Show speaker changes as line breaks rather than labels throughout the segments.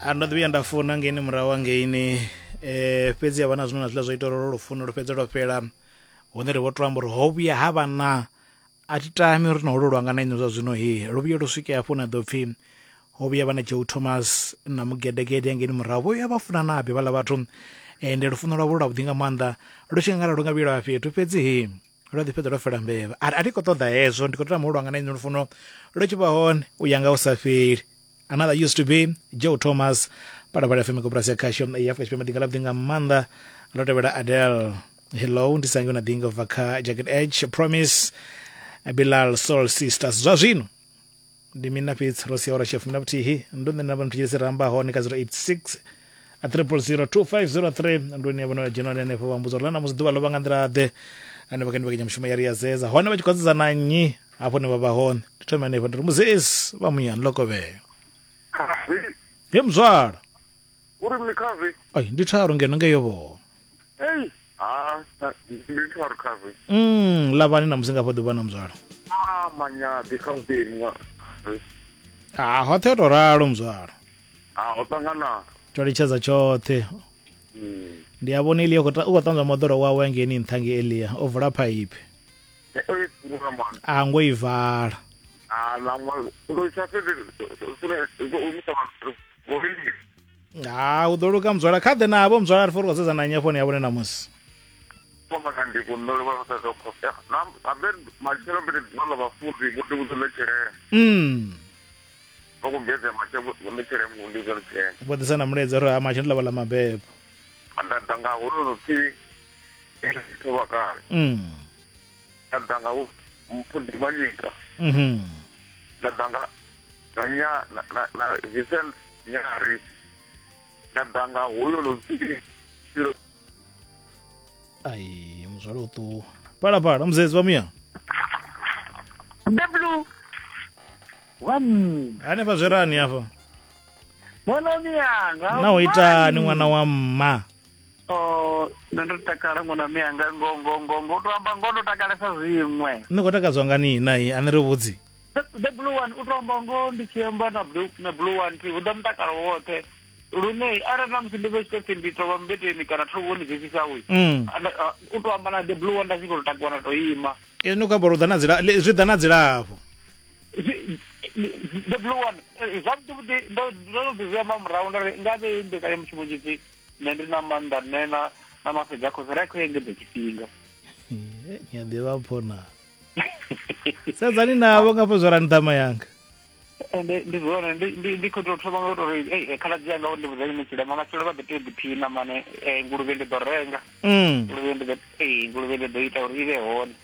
A ndo ḓi vhuya nda funa ngeini murahu hangeini fhedzi ha vha na zwine na zwiḽa zwa ita uri lwo lufuno lu fhedze lwo fhela hune ri vho to amba uri ho vhuya ha vha na a thi tami uri na holo lwanga na inwi zwa zwino he lu vhuye lu swike hafho na ḓo pfhi ho vhuya vha na Joe Thomas na mugedegede hangeini murahu vho vhuya vha funa nabi vhaḽa vhathu ende lufuno lwavho lu lwavhuḓi nga maanḓa lu tshi nga lu nga vhuya lwa fhethu fhedzi he lwa ḓi fhedza lwo fela mbevha a thi khou ṱoḓa hezwo ndi khou tama u lwanga na inwi lufuno lu tshi vha hone u ya nga u sa fheli. Another used to be Joe Thomas Phalaphala FM koporasi ya khasho ya Afrika Tshipembe ḓinga ḽavhuḓi nga maanḓa ḽo tevhela Adele Hello ndi sangi na ḓinga bva kha Jacket Edge Promise Bilal Soul Sisters zwa zwino ndi mina fhedzi ro sia ora shefu mina vhuthihi ndo nṋe na vha thetshelesi ramba hone kha 086 000 2503 ndo ni vhona vha dzhena hanefho vha mbudza uri ḽa ṋamusi ḓuvha ḽo vha nga nḓila ḓe hanefho kha mbekanyamushumo ya ri ya zeza hone vha tshi khou sedza na nnyi hafho ne vha vha hone ndi thome hanefho ndi ri muzesi vha muyani ḽo kovhea
Khavi.
He muzwala.
Uri mini khavi?
Ai ndi tharu ngeno ngeyo vho.
Ei, ha, ndi tharu khavi.
Lavhani na musi nga fha ḓuvha na muzwala.
Ah, manyaḓi kha muteni nga.
Ah, hoṱhe ho to ralo muzwala.
Ah, ho ṱangana.
Tsho litshedza tshoṱhe. Ndi a vhona Elia u khou ṱanzwa moḓoro wawe ngeini nṱha nge Elia o vula phaiphi. A ngo i vala. Ha u ḓo luka muzwala kha ḓe navho muzwala ri fori khou sedza na nnyi afho ni ya vhone ṋamusi. Vho ḓisa na mulaedza uri ha matshelo ḽa vha ḽa mabebo.
Nda ḓa nga hoyo pfi Nda ḓa nga Mpho Manyika. Nda ḓa nga na nya na na, na Vincent Nyari. Nda ḓa nga hoyo no pfi
Ai muzwala u ṱuwa. Phalaphala muzedzi wa muya.
The blue one.
Hanefha zwerani hafha.
Ṅwana miyanga.
Na u itani ṅwana wa mma.
Oh, nṋe ndo takala ṅwana miyanga ngo ngo ngo ngo to amba ngo ndo takalesa zwiṅwe.
Ni khou takadzwa nga ni na i a ni ri vhudzi.
The blue one u to amba ngo ndi tshi amba na blue na blue one thi hu ḓa mutakalo woṱhe lune arali na musi ndi vhe tshi pfi ndi tovha mmbeteni kana thovhoni dzi fhisa uyu u to amba na the blue one nda tshi khou takuwa na to ima.
Ni khou amba uri u ḓa na dzila zwi ḓa na dzilafho.
The blue one zwavhuḓi vhuḓi ndo ndo no ḓi zwi amba murahu nda ri nga vhe mbekanyamushumo tshipfi nṋe ndi na maanḓa nṋe na na mafhedza khosi ra khou engedza tshifhinga.
Ni a ḓivha mpho na. Sedzani navho nga fho zwa ṱhama yanga.
Ende ndi zwone ndi ndi ndi khou tou thoma nga u tou ri ei khaladzi yanga vho ndi vhudza ine tshilema matshelo vha ḓo tea u ḓiphina mane nguluvhe ndi ḓo renga. Nguluvhe ndi ḓo ee nguluvhe ndi ḓo ita uri i vhe hone.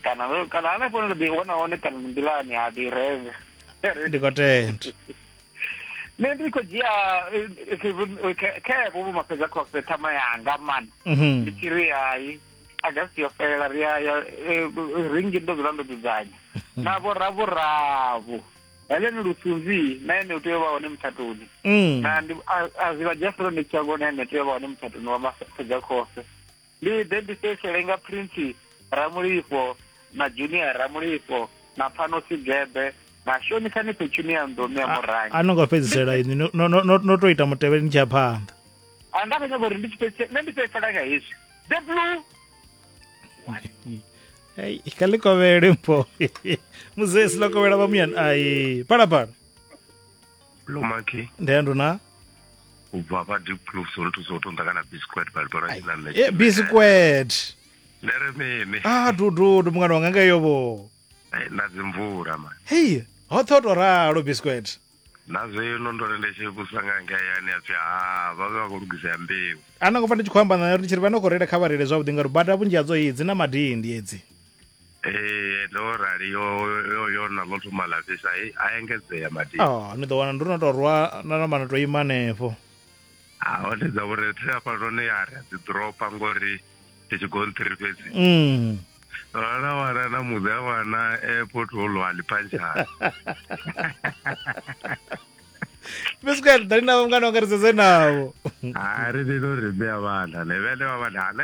Kana kana hanefho ndi ḓo wana hone kana nḓilani ha ḓi renga.
Ndi khou tenda.
Nṋe ndi khou dzhia khevho vho mafhedza khofhe ṱhama yanga mani ndi tshi ri hai Agasti yo fhela ri ya ringi ndo dzula ndo dzudzanya na vho ravhuravhu Helen Lusunzi na ene u tea u vha hone mutshatoni na ndi a zwi vha Jeffrey ndi tshango na ene tea u vha hone mutshatoni wa mafhedza khofhe ndi ḓe ndi fhedzisele nga Prince Ramulifho na Junior Ramulifho na Pfano Sigebe na Shonisani Petunia Ndomi ya Murangi.
A no ngo fhedzisela inwi no no no no to ita mutevhe ni tshi ya phanḓa.
A nda khou nyaga uri ndi tshi fhedzise nṋe ndi fhedzisela nga hezwi. The blue.
Ei, kha ḽi kovhele mpho. Muzesi ḽo kovhela vha muyani. Ai, phala phala.
Lomaki.
Ndi ya nduna.
U bva hafha Diepkloof so nthusa u tonda kana biscuit but bora tshina nṋe.
Eh, biscuit.
Ndere mini?
Ah, dudu, mungana wanga ngeyo vho.
Eh, na dzimvula man.
Hei, hoṱhe ho to ralo biscuit.
Na zwino ndo ri ndi tshi vhusa nga ngei yani ya pfi ha vha vha khou lugisa ya mbeu.
A no ngo pfa ndi tshi khou amba na uri ndi tshi ri vha no khou reila kha vha reile zwavhuḓi ngauri bada vhunzhi hadzo dzi na madindi edzi.
Ee, ndo rali yo yo yo na ḽo thoma ḽa fhisa a engedzea madindi.
Oh, ni ḓo wana ndo no to rwa na namba na to ima hanefho.
Ha hone dza vhori thi hafhanoni ya ri a dzi ḓoropa ngori ndi tshigonṱiri fhedzi. Wana wana na muḓi a wana airport holo a ḽipantshana.
Biscuit, ḓani navho mungana wanga ri sedze navho.
Ha ri ḓi to ri ṋea vhana ne vhene vha vhana ha nṋe.